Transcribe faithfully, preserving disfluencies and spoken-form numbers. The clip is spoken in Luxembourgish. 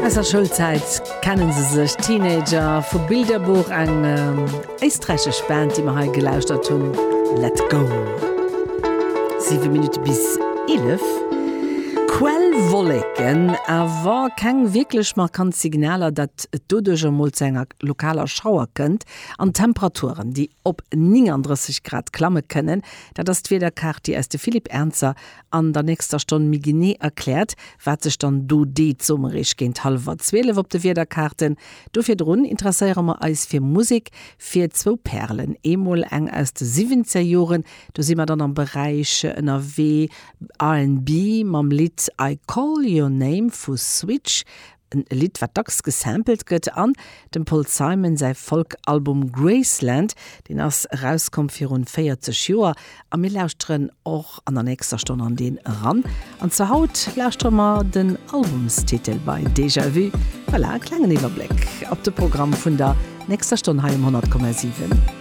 Aus der Schoulzäit kennen se sech, Teenager vu Bilderbuch, eng éisträichesch Band, déi mer hei gelauschtert hunn, Let Go. Siwe Minutte bis eelef. Quellwolleken, awer keng wierklech markant Signaler, datt et doduerch emol zu enger lokaler Schauer kënnt. An Temperaturen, déi op nénganddrësseg Grad klamme kënnen, dat ass d'Wiederkaart, déi eis de Philippe Ernzer an der nächster Stonn méi genee erkläert, wat sech dann do deet, soe mer eréischt géint hallwer zwielef op de Wiederkaarten. Do virdrun interesséiere mer eis fir Musek, fir zwou Pärelen, eemol eng aus de Siwwenzerjoren, do si mer dann am Beräich ënnerwee R and B mam Lidd I Call Your Name vu Switch, en Lidd wat dacks gesampelt gëtt, an dem Paul Simon säi Folk-Album Graceland, deen ass erauskomm virun véierzeg Joer a mir lauschteren och an der nächster Stonn an deen eran. An zu haut lauschtere mer den Albumstitel bei Déjà Vu. Voilà, e klengen Iwwerbléck op de Programm vun der nächster Stonn hei um honnert Komma siwen.